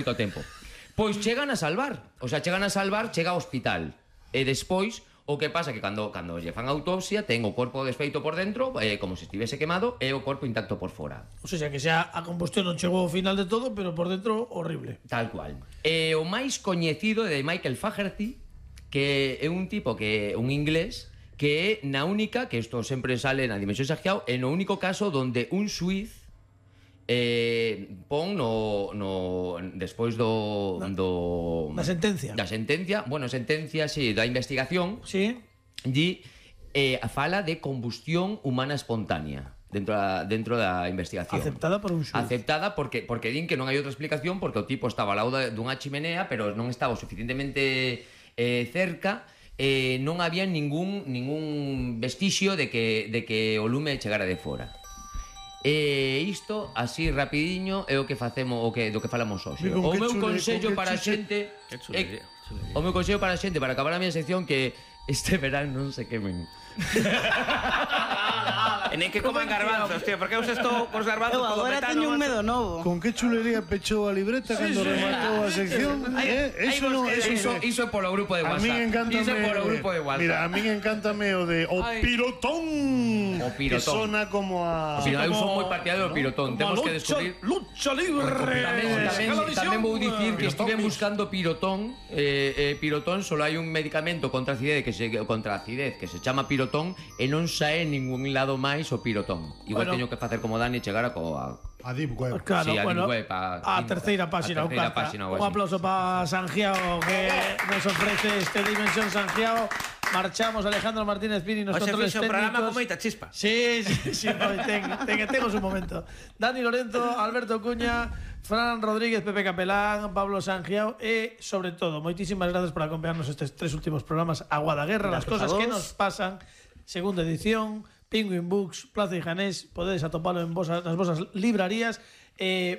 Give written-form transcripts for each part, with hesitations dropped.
moito tempo. Pois chegan a salvar, chega ao hospital. E despois, o que pasa que cando lle fan autopsia, ten o corpo desfeito por dentro, como se estivese quemado, e o corpo intacto por fora. O sea, que xa a combustión non chegou ao final de todo, pero por dentro horrible. Tal cual. E o máis coñecido é de Michael Fagerty, que é un tipo un inglés, que é na única, que isto sempre sale na Dimensión Sanjiao, é no único caso donde un xuiz pon despois da sentencia. Da sentencia, sí, da investigación. Sí. Fala de combustión humana espontánea dentro da investigación. Aceptada por un xuiz. Aceptada porque din que non hai outra explicación, porque o tipo estaba ao lado dunha chimenea, pero non estaba suficientemente cerca, non había ningún vestixio de que o lume chegara de fora. Isto, así rapidiño, é o que facemos, do que falamos hoxe. O meu consello para a xente, para acabar a miña sección, que este verán non se quemen. E nem que coman garbanzos, tío, porque eu estou cos garbanzos. Eu agora teño un medo novo. Con que chulería pechou a libreta cando rematou a sección? Iso é polo grupo de WhatsApp. A min encántame. Iso é polo grupo de WhatsApp. Mira, a min encántame o de o pirotón. O pirotón. Que sona como a... Eu son moi partidario do pirotón. Temos que descubrir... Lucha libre. Tamén vou dicir que estive buscando pirotón. Pirotón, solo hai un medicamento contra a acidez que se chama pirotón, e non sae en ningún lado máis o pirotón. Igual teño que facer como Dani, chegar a Deep Web. Claro, sí, a bueno, Deep Web, a terceira página. Un aplauso para Sanjiao, que nos ofrece este Dimensión Sanjiao. Marchamos, Alejandro Martínez Pini, nos controles técnicos. Programa con moita chispa. Sí, tengo su momento. Dani Lorenzo, Alberto Cuña, Fran Rodríguez, Pepe Capelán, Pablo Sanjiao e, sobre todo, moitísimas gracias por acompañarnos estes 3 últimos programas. Agua da Guerra, las cosas que nos pasan, segunda edición, Penguin Books, Plaza de Janés, podedes atopalo nas vosas librarías.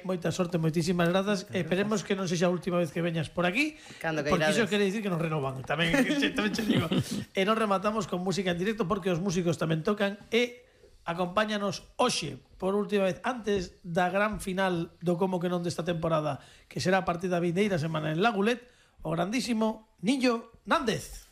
Moita sorte, moitísimas grazas. Esperemos que non sexa a última vez que veñas por aquí, porque iso quere dicir que nos renovan. Tamén che digo. E nos rematamos con música en directo, porque os músicos tamén tocan. E acompáñanos hoxe, por última vez, antes da gran final do Como que non desta temporada, que será a partir da vindeira semana en Lagulet, o grandísimo Niño Nández.